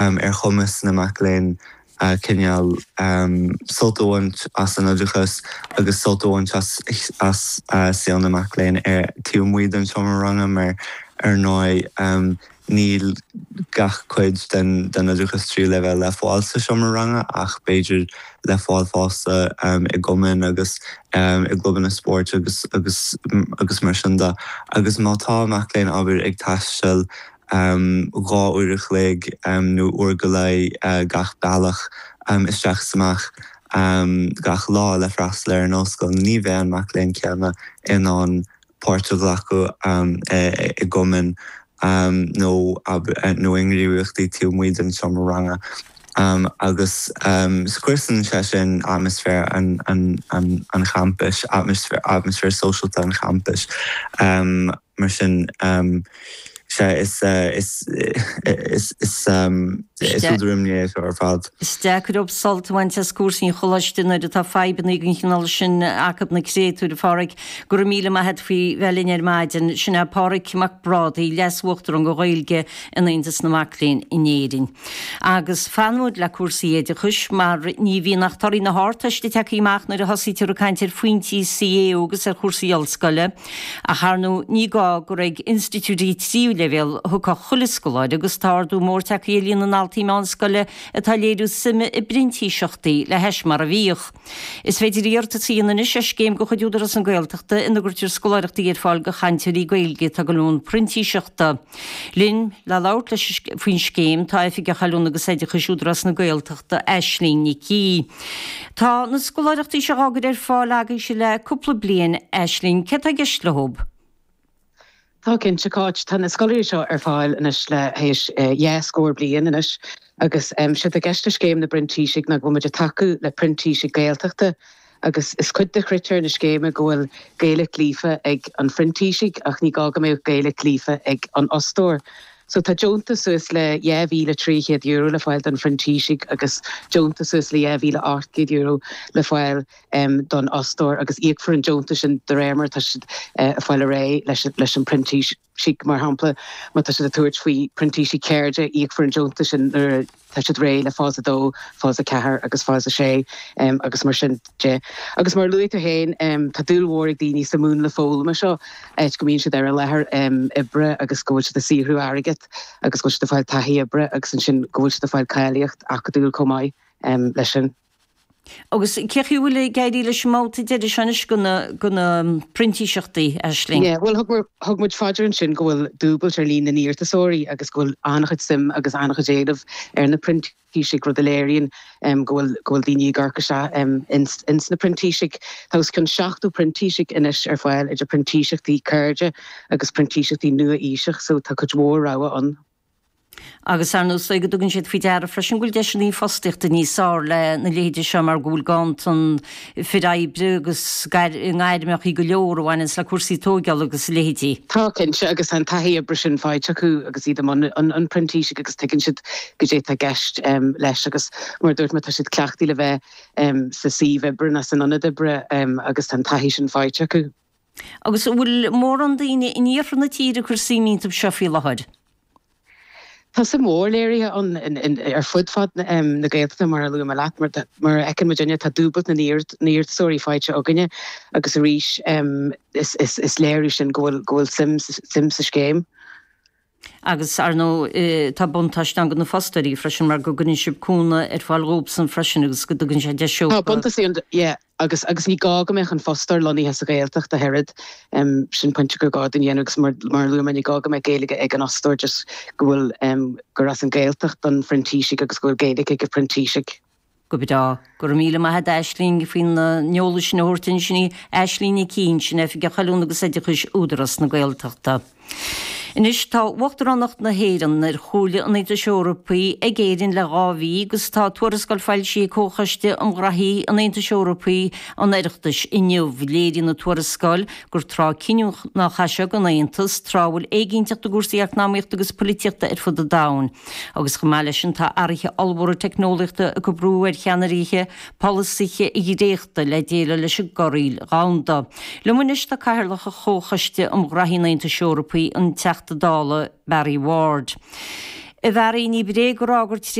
Ar chumas na mac léinn cineál sult a bhaint as an oideachas agus sult a bhaint as saol na mac léinn ar taobh amuigh den seomra ranga mar ar ndóigh níl gach cuid den oideachas tríú leibhéal le fáil sa seomra ranga ach b'fhéidir le fáil fosta i gcumainn agus i gclubanna spóirt agus agus agus mar sin de. Agus má tá mac léinn abair ag taisteal 2 uair a chloig nó uair go leith gach bealach isteach is amach gach lá le freastal ar an ollscoil, ní bheidh an mac léinn céanna in ann páirt a ghlacadh i gcumainn nó nó i ngníomhaíochtaí taobh amuigh den seomra ranga agus scriosann sé sin atmaisféar an champais, atmaisféar sóisialta an champais. Mar sin, sea, is, is, is, is, is údar imní é seo ar fad. Is deacair dóibh sult a bhaint as cúrsaí an choláiste nuair atá fadhbanna den chineál sin acu na créatúir, a Pháraic. Go raibh míle maith a't faoi bheith linn ar maidin. Sin é Páraic Mac Brádaigh, Leas-Uachtarán go Ghaeilge in Aontas na Mac Léinn in Éirinn. Agus fanfaimid le cúrsaí oideachais mar ní bhíonn ach torthaí na hArdteiste tagtha amach nuair a thosaítear ag caint ar phointí CAO agus ar chúrsaí ollscoile. Ach ar ndóigh ní gá gur ag institiúidí tríú leibhéal a thiocfadh chuile scoláire agus tá ardú mór tagtha ar líon na ndaltaí meánscoile atá ag léiriú suime i bprintíseachtaí le hais mar a bhíodh. Is féidir iarratas a dhéanamh anois ar scéim de chuid Údarás na Gaeltachta ina gcuirtear scoláireachtaí ar fáil do chainteoirí Gaeilge atá ag dul i mbun printíseachta. Linn le labhairt leis faoin scéim tá Oifigeach Oiliúna agus Oideachais Údarás na Gaeltachta, Aisling Nic Aoidh. Tá na scoláireachtaí seo á gcur ar fáil agaibhse le cúpla bliain, Aisling, céard tá i gceist leo? Tá cinnte, Cáit. Tá na scoláirí seo ar fáil anois le théis dhá scór bliain anois agus séard tá i gceist le Scéim na bPrintísigh ná go bhfuil muid ag tacú le printísigh Gaeltachta agus is cuid de chritéir na scéime go bhfuil Gaeilge líofa ag an phrintísigh ach ní gá go mbeadh Gaeilge líofa ag an fhostóir. So tá deontas suas le €2,300 le fáil don phrintísigh agus deontas suas le €2,800 le fáil don fhostóir agus íocfar an deontas sin de réir mar atá siad ag fáil ar aghaidh leis an bprintísigh. Mar shampla, má tá siad ag tabhairt faoi printísigh ceirde, íocfar an deontas sin nuair atá siad réidh le fás 2, fás 4 agus fás 6 agus mar sin de. Agus mar a luaigh tú féin, tá dúil mhór ag daoine sa mhúnla foghlama seo, áit go mbíonn siad ar an láthair oibre agus go bhfuil siad ag saothrú airgead agus go bhfuil siad ag fáil taithí oibre agus ansin go bhfuil siad ag fáil cáilíocht acadúil chomh maith leis sin. Agus cén chaoi a bhfuil ag éirí leis an mbabhta deiridh seo anois de na printíseachtaí, Aisling? Yeah, bhuel thug thug muid faoi deara ansin go bhfuil dúbailt ar líon na n-iarratasóirí agus go bhfuil an-chuid suim agus an-chuid éileamh ar na printísigh, rud a léiríonn go bhfuil go bhfuil daoine ag amharc isteach ins ins na printísigh. Tá os cionn 70 printísigh anois ar fáil idir printíseachtaí ceirde agus printíseachtaí nua-aoiseach so tá cuid mhór rogha ann. Agus ar ndóigh is dóigh go dtugann siad faoi deara freisin go bhfuil deiseanna fostaíochta níos fearr le na leithéidí seo mar go bhfuil ganntan fir oibre agus i ngairmeacha go leor a bhaineanns le cúrsaí tóigeála agus a leithéidí. Tá, cinnte, agus tá an taithí oibre sin faighte acu agus iad i mbun an phrintísigh agus tuigeann siad goidé atá i gceist leis agus mar a dúirt mé tá siad cleachtaithe le bheith sa suíomh oibre nó san ionad oibre agus tá an taithí sin faighte acu. Agus an bhfuil mórán daoine in iarthar na tíre ag cur suim iontu seo faoi láthair? Tá suim mhór léirithe ann ar fud fad na Gaeltachta mar a luaigh mé leat. Mar a fheiceann muidinne tá dúbailt na n-iarratasóirí faighte againne agus arís is léiriú sin go bhfuil suim sa scéim. Agus, ar ndóigh, tá buntáiste ann do na fostóirí freisin mar go gcuireann sibh cúnamh ar fáil dhóibhsan freisin agus go dtugann sé deis Tá buntáistí ann, yeah, agus agus ní gá go mbeadh an fostóir lonnaithe sa Ghaeltacht ach oiread. Sin pointe gur gá dúinn a dhéanamh agus mar mar a luaigh mé ní gá go mbeadh Gaeilge ag an fhostóir just go bhfuil gur as an Ghaeltacht don phrintísigh agus go bhfuil Gaeilge ag an phrintísigh. Go breá. Go raibh míle maith a't Aisling faoin eolas sin a thabhairt dúinn. Sin í Aisling Nic Aoidh, sin Oifigeach Oiliúna agus Oideachais Údarás na Gaeltachta. Anois tá Uachtaránacht na hÉireann ar Chomhairle an Aontais Eorpaigh ag Éirinn le 2 mhí agus tá tuarascáil foilsithe ag Comhchoiste um Ghraithí an Aontais Eorpaigh an Oireachtais inniu. Léiríonn an tuarascáil gur tráth cinniúnach é seo don Aontas, tráth a bhfuil éiginnteacht i gcúrsaí eacnamaíochta agus polaitíochta ar fud an domhain. Agus chomh maith leis sin tá athruithe ollmhóra teicneolaíochta ag cur brú ar cheannairithe polasaithe a dhréachtadh le déileáil leis an gcorraíl dhomhanda. Liom anois tá Cathaoirleach Chomhchoiste um Ghraithí an Aontais Eorpaigh, an Teachta Dála Barry Ward. A Bharry, ní bréag a rá gur.